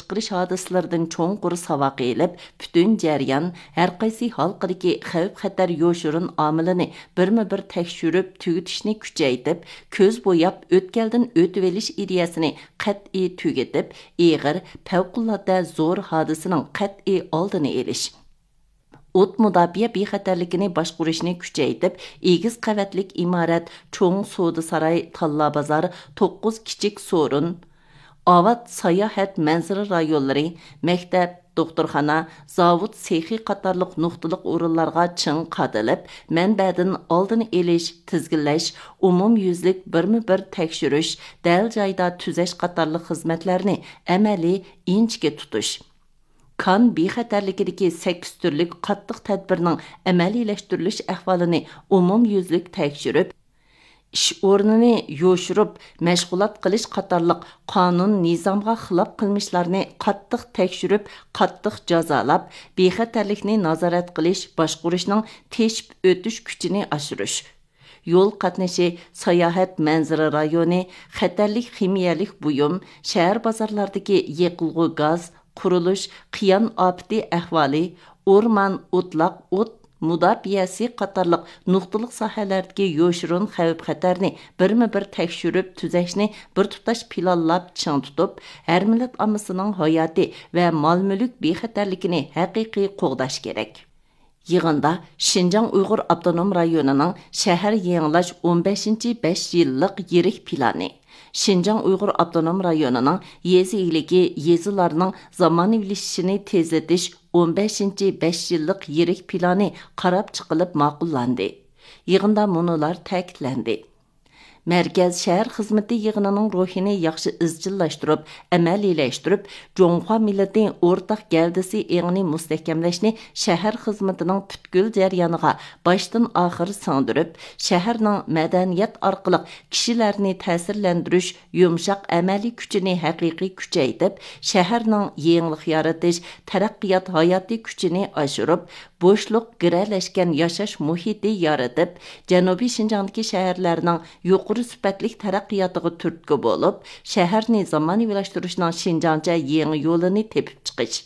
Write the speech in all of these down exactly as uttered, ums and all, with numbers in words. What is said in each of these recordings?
چىقىرىش ھادىسىلىرىدىن چوڭقۇر ساۋاق ئېلىپ، پۈتۈن جەريان، ھەرقايسى ھالقىدىكى خەۋپ-خەتەر يوشۇرۇن ئامىلىنى بىرمۇ بىر تەكشۈرۈپ تۈگىتىشنى كۈچەيتىپ، كۆز بوياپ ئۆتكەلدىن ئۆتۈۋېلىش ئىدىيەسىنى قەتئىي تۈگىتىپ، ئېغىر، پەۋقۇلئاددە زور ھادىسىنىڭ قەتئىي ئالدىنى ئېلىش. ئوت مۇداپىئە بىخەتەرلىكىنى باشقۇرۇشنى كۈچەيتىپ، ئېگىز قەۋەتلىك ئىمارەت، چوڭ سودا ساراي، تاللا بازار، توققۇز كىچىك سورۇن، ئاۋات ساياھەت مەنزىرە رايونلىرى، مەكتەپ، دوختۇرخانا، زاۋۇت سېخى قاتارلىق نۇقتىلىق ئورۇنلارغا چىڭ قادىلىپ، مەنبەدىن ئالدىنى ئېلىش، تىزگىنلەش، ئومۇميۈزلۈك بىرمۇ بىر تەكشۈرۈش، دەل جايىدا تۈزەش قاتارلىق خىزمەتلەرنى ئەمەلىي ئىنچىكە تۇتۇش. كان بىخەتەرلىكىدىكى سەككىز تۈرلۈك قاتتىق تەدبىرنىڭ ئەمەلىيلەشتۈرۈلۈش ئەھۋالىنى ئومۇميۈزلۈك تەكشۈرۈپ، ئىش ئورنىنى يوشۇرۇپ مەشغۇلات قىلىش قاتارلىق قانۇن، نىزامغا خىلاپ قىلمىشلارنى قاتتىق تەكشۈرۈپ، قاتتىق جازالاپ، بىخەتەرلىكنى نازارەت قىلىش، باشقۇرۇشنىڭ تېشىپ ئۆتۈش كۈچىنى ئاشۇرۇش. يول قاتنىشى، ساياھەت مەنزىرە رايونى، خەتەرلىك خىمىيەلىك بۇيۇم، شەھەر بازارلاردىكى يېقىلغۇ گاز، قۇرۇلۇش، قىيان ئاپىتى ئەھۋالى، ئورمان، ئوتلاق، ئوت مۇداپىئەسى قاتارلىق نۇقتىلىق ساھەلەردىكى يوشۇرۇن خەۋپ-خەتەرنى بىرمۇ بىر تەكشۈرۈپ تۈزەشنى بىر تۇتاش پىلانلاپ چىڭ تۇتۇپ، ھەر مىللەت ئاممىسىنىڭ ھاياتى ۋە مال-مۈلۈك بىخەتەرلىكىنى ھەقىقىي قوغداش كېرەك. يىغىندا شىنجاڭ ئۇيغۇر ئاپتونوم رايونىنىڭ شەھەر يېڭىلاش ئون بەشىنچى بەش يىللىق يىرىك پىلانى، شىنجاڭ ئۇيغۇر ئاپتونوم رايونىنىڭ يېزا ئىگىلىكى، يېزىلارنىڭ زامانىۋىلىشىشىنى تېزلىتىش ئون بەشىنچى بەش يىللىق يىرىك پىلانى قاراپ چىقىلىپ ماقۇللاندى. يىغىندا مۇنۇلار تەكىتلەندى. مەركەز شەھەر خىزمىتى يىغىنىنىڭ روھىنى ياخشى ئىزچىللاشتۇرۇپ، ئەمەلىيلەشتۈرۈپ، جۇڭخۇا مىللىتى ئورتاق گەۋدىسى ئېڭىنى مۇستەھكەملەشنى شەھەر خىزمىتىنىڭ پۈتكۈل جەريانىغا باشتىن ئاخىر سىڭدۈرۈپ، شەھەرنىڭ مەدەنىيەت ئارقىلىق كىشىلەرنى تەسىرلەندۈرۈش يۇمشاق ئەمەلىي كۈچىنى ھەقىقىي كۈچەيتىپ، شەھەرنىڭ يېڭىلىق يارىتىش، تەرەققىيات ھاياتىي كۈچىنى ئاشۇرۇپ، بوشلۇق، گىرەلەشكەن ياشاش مۇھىتى يارىتىپ، جەنۇبىي شىنجاڭدىكى شەھەرلەرنىڭ يۇقىرى سۈپەتلىك تەرەققىياتىغا تۈرتكە بولۇپ، شەھەرنى زامانىۋىلاشتۇرۇشنىڭ شىنجاڭچە يېڭى يولىنى تېپىپ چىقىش.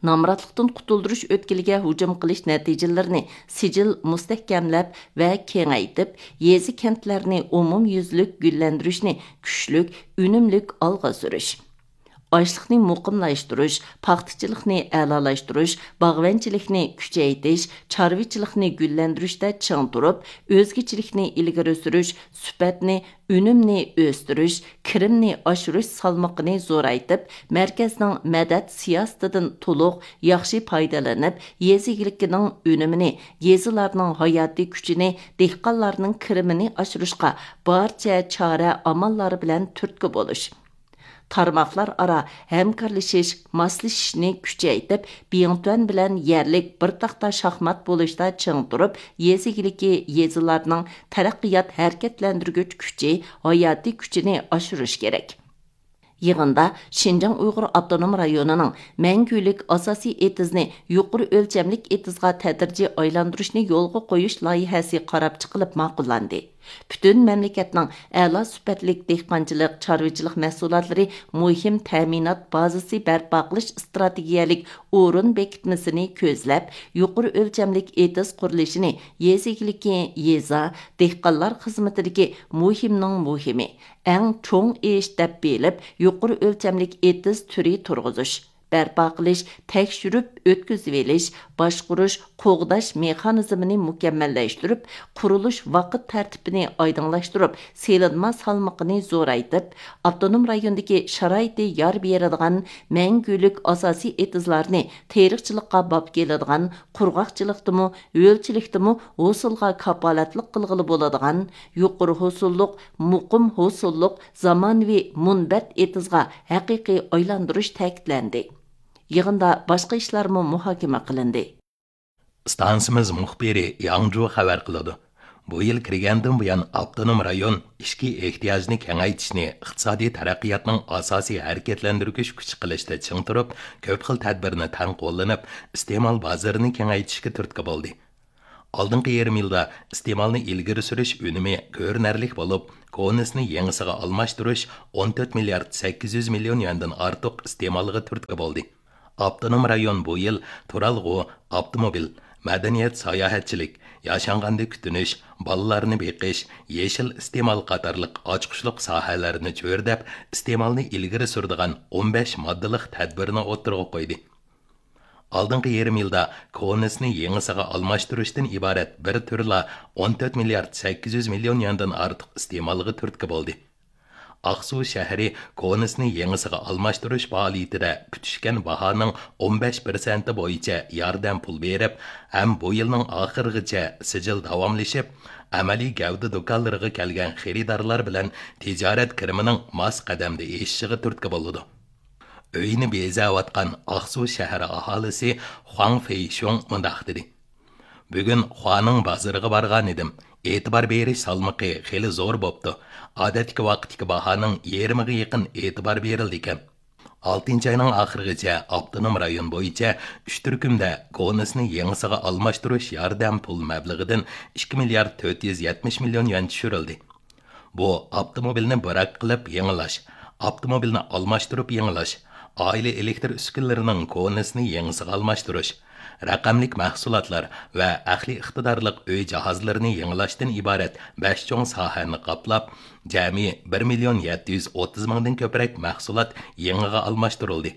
نامراتلىقتىن قۇتۇلدۇرۇش ئۆتكىلىگە ھۇجۇم قىلىش نەتىجىلىرىنى سىجىل مۇستەھكەملەپ ۋە كېڭەيتىپ، يېزا، كەنتلەرنى ئومۇميۈزلۈك گۈللەندۈرۈشنى كۈچلۈك، ئۈنۈملۈك ئالغا سۈرۈش. ئاشلىقنى مۇقىملاشتۇرۇش، پاختىچىلىقنى ئەلالاشتۇرۇش، باغۋەنچىلىكنى كۈچەيتىش، چارۋىچىلىقنى گۈللەندۈرۈشتە چىڭ تۇرۇپ، ئۆزگىچىلىكنى ئىلگىرى سۈرۈش، سۈپەتنى، ئۈنۈمنى ئۆستۈرۈش، كىرىمنى ئاشۇرۇش سالمىقىنى زورايتىپ، مەركەزنىڭ مەدەت سىياسىتىدىن تولۇق، ياخشى پايدىلىنىپ، يېزا ئىگىلىكىنىڭ ئۈنۈمىنى، يېزىلارنىڭ ھاياتىي كۈچىنى، دېھقانلارنىڭ كىرىمىنى ئاشۇرۇشقا بارچە چارە ئاماللار بىلەن تۈرتكە بولۇش. تارماقلار ئارا ھەمكارلىشىش، ماسلىشىشنى كۈچەيتىپ، بىڭتۈەن بىلەن يەرلىك بىر تاختا شاھمات بولۇشتا چىڭ تۇرۇپ، يېزا ئىگىلىكى، يېزىلارنىڭ تەرەققىيات ھەرىكەتلەندۈرگۈچ كۈچى، ھاياتىي كۈچىنى ئاشۇرۇش كېرەك. يىغىندا شىنجاڭ ئۇيغۇر ئاپتونوم رايونىنىڭ مەڭگۈلۈك ئاساسىي ئېتىزنى يۇقىرى ئۆلچەملىك ئېتىزغا تەدرىجىي ئايلاندۇرۇشنى يولغا قويۇش لايىھەسى قاراپ چىقىلىپ ماقۇللاندى. پۈتۈن مەملىكەتنىڭ ئەلا سۈپەتلىك دېھقانچىلىق، چارۋىچىلىق مەھسۇلاتلىرى مۇھىم تەمىنات بازىسى بەرپا قىلىش ئىستراتېگىيەلىك ئورۇن بېكىتمىسىنى كۆزلەپ، يۇقىرى ئۆلچەملىك ئېتىز قۇرۇلۇشىنى يېزا ئىگىلىكى، يېزا، دېھقانلار خىزمىتىدىكى مۇھىمنىڭ مۇھىمى، ئەڭ چوڭ ئىش دەپ بىلىپ، يۇقىرى ئۆلچەملىك ئېتىز تۈرى تۇرغۇزۇش، بەرپا قىلىش، تەكشۈرۈپ ئۆتكۈزۈۋېلىش، باشقۇرۇش، قوغداش مېخانىزمىنى مۇكەممەللەشتۈرۈپ، قۇرۇلۇش ۋاقىت تەرتىپىنى ئايدىڭلاشتۇرۇپ، سېلىنما سالمىقىنى زورايتىپ، ئاپتونوم رايوندىكى شارائىتى يار بېرىدىغان مەڭگۈلۈك ئاساسىي ئېتىزلارنى تېرىقچىلىققا باب كېلىدىغان، قۇرغاقچىلىقتىمۇ، ھۆلچىلىكتىمۇ ھوسۇلغا كاپالەتلىك قىلغىلى بولىدىغان، يۇقىرى ھوسۇللۇق، مۇقىم ھوسۇللۇق، زامانىۋى مۇنبەت ئېتىزغا ھەقىقىي ئايلاندۇرۇش تەكىتلەندى. يىغىندا باشقا ئىشلارمۇ مۇھاكىمە قىلىندى. ئىستانسىمىز مۇخبىرى ياڭجۇ خەۋەر قىلىدۇ. بۇ يىل كىرگەندىن بۇيان، ئاپتونوم رايون ئىچكى ئېھتىياجنى كېڭەيتىشنى ئىقتىسادىي تەرەققىياتنىڭ ئاساسىي ھەرىكەتلەندۈرگۈچ كۈچى قىلىشتا چىڭ تۇرۇپ، كۆپ خىل تەدبىرنى تەڭ قوللىنىپ، ئىستېمال بازىرىنى كېڭەيتىشكە تۈرتكە بولدى. ئالدىنقى يېرىم يىلدا ئىستېمالنى ئىلگىرى سۈرۈش ئۈنۈمى كۆرۈنەرلىك بولۇپ، كونىسىنى يېڭىسىغا ئالماشتۇرۇش ئون تۆت مىليارد سەككىز يۈز مىليون يۈەندىن ئارتۇق ئىستېمالغا تۈرتكە بولدى. ئاپتونوم رايون بۇ يىل تۇرالغۇ، ئاپتوموبىل، مەدەنىيەت، ساياھەتچىلىك، ياشانغاندا كۈتۈنۈش، بالىلارنى بېقىش، يېشىل ئىستېمال قاتارلىق ئاچقۇچلۇق ساھەلەرنى چۆرىدەپ، ئىستېمالنى ئىلگىرى سۈرىدىغان ئون بەش ماددىلىق تەدبىرنى ئوتتۇرىغا قويدى. ئالدىنقى يېرىم يىلدا كونىسىنى يېڭىسىغا ئالماشتۇرۇشتىن ئىبارەت بىر تۈرلا ئون تۆت مىليارد سەككىز يۈز مىليون يۈەندىن ئارتۇق ئىستېمالغا تۈرتكە بولدى. ئاقسۇ شەھىرى كونىسىنى يېڭىسىغا ئالماشتۇرۇش پائالىيىتىدە پۈتۈشكەن باھانىڭ ئون بەش پىرسەنتى بويىچە ياردەم پۇل بېرىپ، ھەم بۇ يىلنىڭ ئاخىرىغىچە سىجىل داۋاملىشىپ، ئەمەلىي گەۋدە دۇكانلىرىغا كەلگەن خېرىدارلار بىلەن تىجارەت كىرىمىنىڭ ماس قەدەمدە ئېشىشىغا تۈرتكە بولىدۇ. ئۆيىنى بېزەۋاتقان ئاقسۇ شەھىرى ئاھالىسى خۇاڭ فېيشۇڭ مۇنداق دېدى: بۈگۈن خۇانىڭ بازىرىغا بارغانىدىم. ئېتىبار بېرىش سالمىقى خېلى زور بوپتۇ. ئادەتتىكى ۋاقىتتىكى باھانىڭ يېرىمىغا يېقىن ئېتىبار بېرىلىدىكەن. ئالتىنچى ئاينىڭ ئاخىرىغىچە ئاپتونوم رايون بويىچە ئۈچ تۈركۈمدە كونىسىنى يېڭىسىغا ئالماشتۇرۇش ياردەم پۇل مەبلىغىدىن ئىككى مىليارد تۆت يۈز يەتمىش مىليون يۈەن چۈشۈرۈلدى. بۇ ئاپتوموبىلنى بىراك قىلىپ يېڭىلاش، ئاپتوموبىلنى ئالماشتۇرۇپ يېڭىلاش، ئائىلە ئېلېكتر ئۈسكۈنىلىرىنىڭ كونىسىنى يېڭىسىغا ئالماشتۇرۇش، رەقەملىك مەھسۇلاتلار ۋە ئەقلىي ئىقتىدارلىق ئۆي جاھازلىرىنى يېڭىلاشتىن ئىبارەت بەش چوڭ ساھەنى قاپلاپ، جەمئىي بىر مىليون يەتتە يۈز ئوتتۇز مىڭدىن كۆپرەك مەھسۇلات يېڭىغا ئالماشتۇرۇلدى.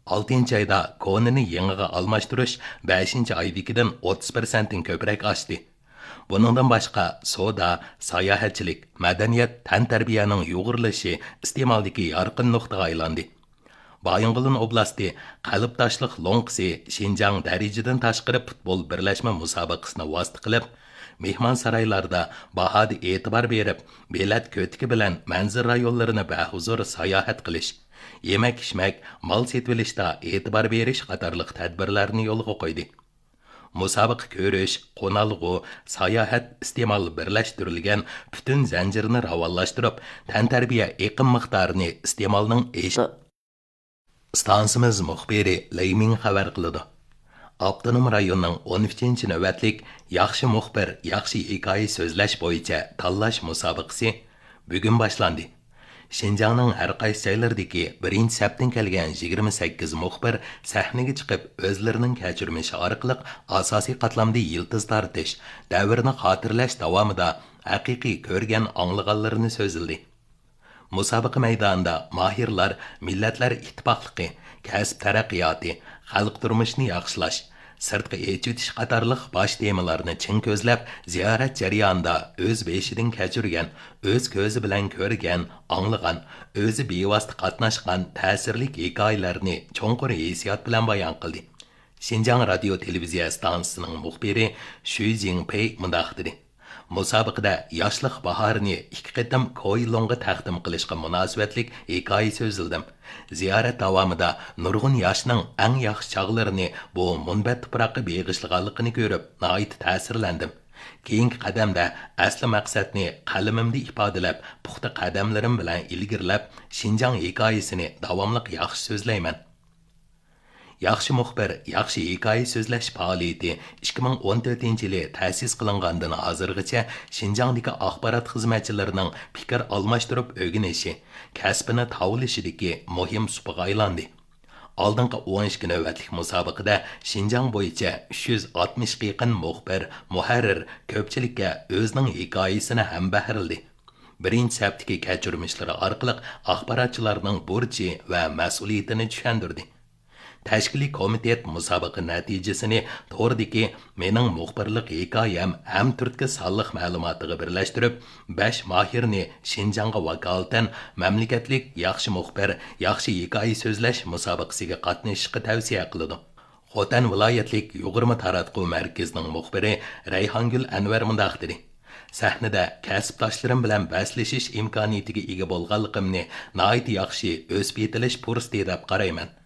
ئالتىنچى ئايدا كونىنى يېڭىغا ئالماشتۇرۇش بەشىنچى ئايدىكىدىن ئوتتۇز پىرسەنتتىن كۆپرەك ئاشتى. بۇنىڭدىن باشقا، سودا، ساياھەتچىلىك، مەدەنىيەت، تەنتەربىيەنىڭ يۇغۇرۇلۇشى ئىستېمالدىكى يارقىن نۇقتىغا ئايلاندى. بايىنغولىن ئوبلاستى قەلبداشلىق لوڭقىسى شىنجاڭ دەرىجىدىن تاشقىرى پۇتبول بىرلەشمە مۇسابىقىسىنى ۋاسىتە قىلىپ، مېھمانسارايلاردا باھادا ئېتىبار بېرىپ، بېلەت كۆتىكى بىلەن مەنزىرە رايونلىرىنى بەھۇزۇر ساياھەت قىلىش، يېمەك-ئىچمەك، مال سېتىۋېلىشتا ئېتىبار بېرىش قاتارلىق تەدبىرلەرنى يولغا قويدى. مۇسابىقە كۆرۈش، قونالغۇ، ساياھەت ئىستېمال بىرلەشتۈرۈلگەن پۈتۈن زەنجىرنى راۋانلاشتۇرۇپ، تەنتەربىيە ئېقىم مىقدارىنى ئىستېمالنىڭ ئېشىپ. ئىستانسىمىز مۇخبىرى لېي مىڭ خەۋەر قىلىدۇ. ئاپتونوم رايوننىڭ ئون ئۈچىنچى نۆۋەتلىك ياخشى مۇخبىر، ياخشى ھېكايە سۆزلەش بويىچە تاللاش مۇسابىقىسى بۈگۈن باشلاندى. شىنجاڭنىڭ ھەر قايسى جايلىرىدىكى بىرىنچى سەپتىن كەلگەن يىگىرمە سەككىز مۇخبىر سەھنىگە چىقىپ، ئۆزلىرىنىڭ كەچۈرمىشى ئارقىلىق ئاساسىي قاتلامدا يىلتىز تارتىش، دەۋرنى خاتىرىلەش داۋامىدا ھەقىقىي كۆرگەن، ئاڭلىغانلىرىنى سۆزلىدى. مۇسابىقە مەيدانىدا ماھىرلار مىللەتلەر ئىتتىپاقلىقى، كەسىپ تەرەققىياتى، خەلق تۇرمۇشىنى ياخشىلاش، سىرتقا ئېچىۋېتىش قاتارلىق باش تېمىلارنى چىڭ كۆزلەپ، زىيارەت جەريانىدا ئۆز بېشىدىن كەچۈرگەن، ئۆز كۆزى بىلەن كۆرگەن، ئاڭلىغان، ئۆزى بىۋاسىتە قاتناشقان تەسىرلىك ھېكايىلەرنى چوڭقۇر ھېسسىيات بىلەن بايان قىلدى. شىنجاڭ رادىيو تېلېۋىزىيە ئىستانسىسىنىڭ مۇخبىرى شۈي زىڭپېي مۇنداق دېدى: مۇسابىقىدە ياشلىق باھارىنى ئىككى قېتىم كويلۇڭغا تەقدىم قىلىشقا مۇناسىۋەتلىك ھېكايە سۆزلىدىم. زىيارەت داۋامىدا نۇرغۇن ياشنىڭ ئەڭ ياخشى چاغلىرىنى بۇ مۇنبەت تۇپراققا بېغىشلىغانلىقىنى كۆرۈپ، ناھايىتى تەسىرلەندىم. كېيىنكى قەدەمدە ئەسلى مەقسەتنى قەلىمىمدە ئىپادىلەپ، پۇختا قەدەملىرىم بىلەن ئىلگىرىلەپ، شىنجاڭ ھېكايىسىنى داۋاملىق ياخشى سۆزلەيمەن. ياخشى مۇخبىر، ياخشى ھېكايە سۆزلەش پائالىيىتى ئىككى مىڭ ئون تۆتىنچى يىلى تەسىس قىلىنغاندىن ھازىرغىچە شىنجاڭدىكى ئاخبارات خىزمەتچىلىرىنىڭ پىكىر ئالماشتۇرۇپ ئۆگىنىشى، كەسپىنى تاۋلىشىدىكى مۇھىم سۇپىغا ئايلاندى. ئالدىنقى ئون ئىككى نۆۋەتلىك مۇسابىقىدە شىنجاڭ بويىچە ئۈچ يۈز ئاتمىشقا يېقىن مۇخبىر، مۇھەررىر كۆپچىلىككە ئۆزىنىڭ ھېكايىسىنى ھەمبەھىرلىدى. بىرىنچى سەپتىكى كەچۈرمىشلىرى ئارقىلىق ئاخباراتچىلارنىڭ بۇرچى ۋە مەسئۇلىيىتىنى چۈشەندۈردى. تەشكىلىي كومىتېت مۇسابىقە نەتىجىسىنى توردىكى مېنىڭ مۇخبىرلىق ھېكايەم ھەم تۈرتكە سانلىق مەلۇماتىغا بىرلەشتۈرۈپ، بەش ماھىرنى شىنجاڭغا ۋاكالىتەن مەملىكەتلىك ياخشى مۇخبىر، ياخشى ھېكايە سۆزلەش مۇسابىقىسىگە قاتنىشىشقا تەۋسىيە قىلىدۇ. خوتەن ۋىلايەتلىك يۇغۇرما تاراتقۇ مەركىزىنىڭ مۇخبىرى رەيھانگۈل ئەنۋەر مۇنداق دېدى: سەھنىدە كەسىپداشلىرىم بىلەن بەسلىشىش ئىمكانىيىتىگە ئىگە بولغانلىقىمنى ناھايىتى ياخشى ئۆسۈپ يېتىلىش پۇرسىتى دەپ قارايمەن.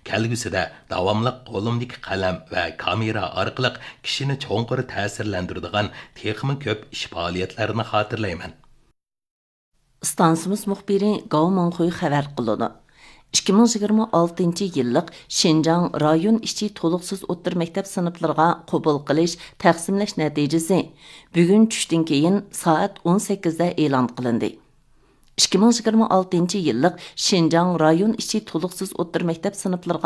كەلگۈسىدە داۋاملىق قولۇمدىكى قەلەم ۋە كامېرا ئارقىلىق كىشىنى چوڭقۇر تەسىرلەندۈرىدىغان تېخىمۇ كۆپ ئىش پائالىيەتلەرنى خاتىرىلەيمەن. ئىستانسىمىز مۇخبىرى گاۋ مىڭخۇي خەۋەر قىلىدۇ. ئىككى مىڭ يىگىرمە ئالتىنچى يىللىق شىنجاڭ رايون ئىچى تولۇقسىز ئوتتۇرا مەكتەپ سىنىپلىرىغا قوبۇل قىلىش، تەقسىملەش نەتىجىسى بۈگۈن چۈشتىن كېيىن سائەت ئون سەككىزدە ئېلان قىلىندى. ئىككى مىڭ يىگىرمە ئالتىنچى يىللىق شىنجاڭ رايون ئىچى تولۇقسىز ئوتتۇرا مەكتەپ سىنىپلىرىغا